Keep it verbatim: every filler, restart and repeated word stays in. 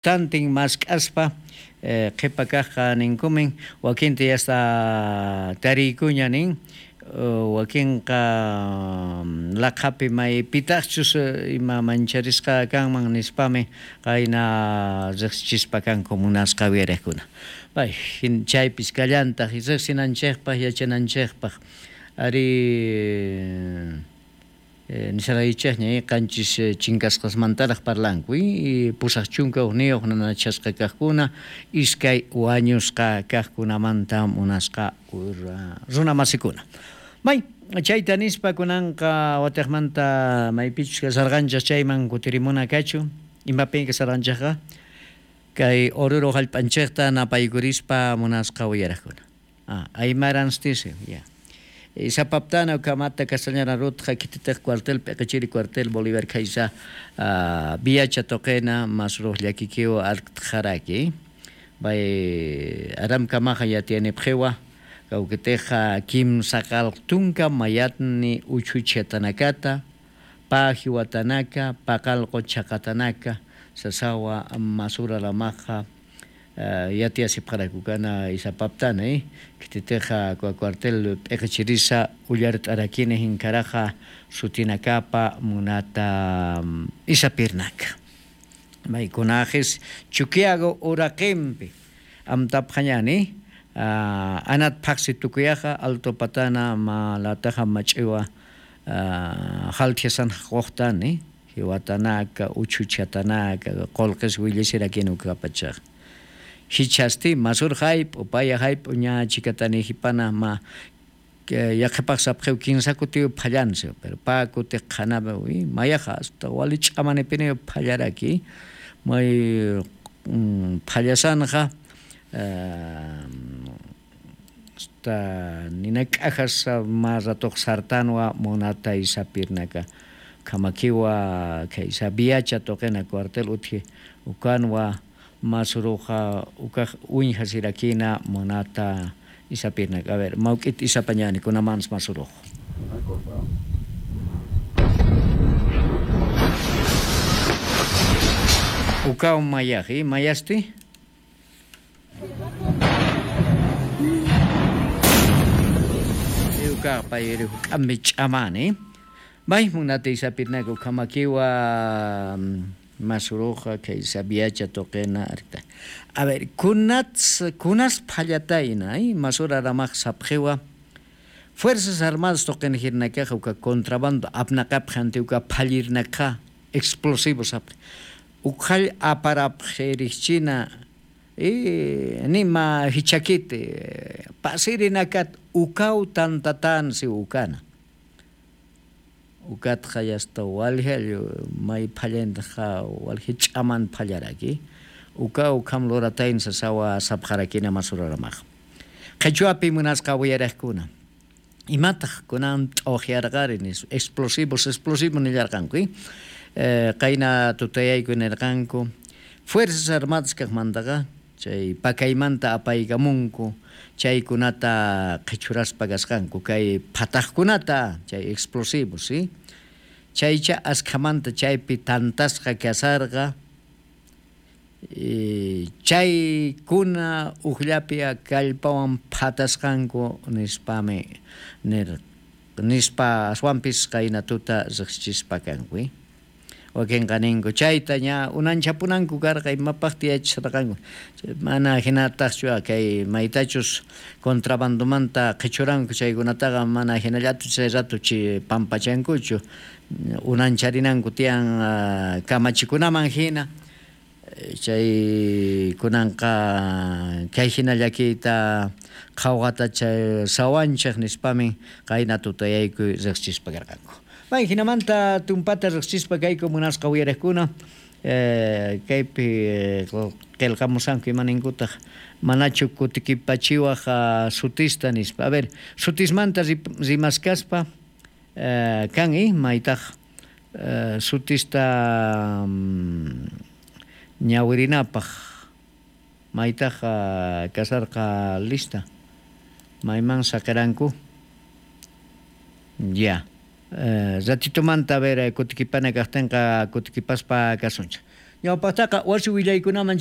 Tantin mask'aspa qhipa kaqqa ninkumin wakinta yasta tariykuña nin wakinqa laqhapi maypitaqchus ima mancharisqa kanman nispami qayna riqsichispa kanku munasqa uyariqkuna. Pay chaypis kallantaq riqsinanchikpaq yachananchikpaq ari nisharaychikña qanchis chinkasqasmantaraq parlanku pusaq chunka hukniyuq nanachasqa kaqkuna iskay wañusqa kaqkunamanta munasqa runamasikuna. May chayta nispa kunanqa watiqmanta maypichus kasarqanchik chayman kutirimuna kachu imapin kasarqanchikqa kay Oruro hallp'anchikta napaykurispa munasqa uyaraqkuna. Ah, aymaranstisi, ya. Isapaptana kamata castañana rutja kititej cuartel peqechiri cuartel Bolívar kaysa viacha toqena masruj llakikiwa arktjaraki bay aram kamaja yatianipjewa kawkiteja kimsaqaltunka mayatni uchuchatanakata pajiwatanaka paqalqo chaqatanaka sasawa masura lamaja yatiasipqarakukana isapaptana eh kititeja cuartel p'eqechirisa ullart'arakini hinkaraja sutinakapa munata isapirnaka maykunajis Chuquiago uraqinpi amtapqañani anat phaqsi tukuyaqa alto patana malataja mach'iwa halthiasan quqtani hiwatanaka uchuchatanaka qolqis willashirakinu kapachaq hichasti masur hayp upaya hayp ña chikatani hipana ma yaqhipaq sapqiw kinsa kutiw phallansi pero pa kuti qhanapi mayaqa hasta walich'amanipini phallaraki may phallasanja hasta ninak'ajas ma ratuq sartanwa munata isapirnaka kamakiwa kaysa viacha toqena cuartel uthi ukanwa masuruja ukaj uñja sirakina munata isapirnaka. A ver, mawk'it isapañani kunamans masuruj. Ukaw mayaji, mayasti? Uka payri k'ambi ch'amani. May munata isapirnaka ukamakiwa masuruja kaysa viacha toqena arta. A ver, kunats kunas phallatayna, eh, masura ramaq sapqiwa Fuerzas Armadas toqena hirnakaqa uka contrabando apnaqapaq anti uka phallirnaqa explosivos apq. Ukhall aparapqirichina eh nima hichakite pasirinakat ukaw tantatansi ukana. Ukatqa yasta walhiallu may phallantaqa walhi ch'aman phallaraki uka ukham loratayn sasawa sapqarakina masuraramaq qhichwapi munasqa uyariqkuna imataq kunan t'uqyarqari nis explosivos explosivos nillarqanku eh qayna tutayayku nirqanku Fuerzas Armadas kaqmantaqa chay pakaymanta apaykamunku chaykunata qhichuraspa kasqanku kay phataqkunata chay explosivos ¿sí? Chaycha askhamanta chaypi tantasqa kasarqa chaykuna uqllapi kallpawan phatasqanku nispami nir nispa aswanpis qayna tuta riqsichispa kanku wakinqa ninku chayta ña unanchapunanku karqa imapaqta yachasharqanku mana hinataqchu kay maytachus contrabandomanta qhichuranku chaykunataqa mana hinallatu chay rato chi pampachankuchu unancharinanku tiyan kamachikunaman hina chay kunanqa kay hina llakiyta qhawqata chay sawanchik nispami qayna tutayayku riqsichispa karqanku. May hinamanta tumpata riqsichispa kayku munasqa uyariqkuna eh kaypi qillqamusanku imaninkutaq manachu kutikipachiwaq sutista nispa. A ver, sutismanta rimaskaspa eh kan eh maytaq sutista ñawirinapaq maytaq kasarqa lista mayman saqiranku ya. Eh, ratitomanta a ver kutikipana kaqtinqa kutikipaspa kasunchik. Ñawpajtaqa wasi willaykunaman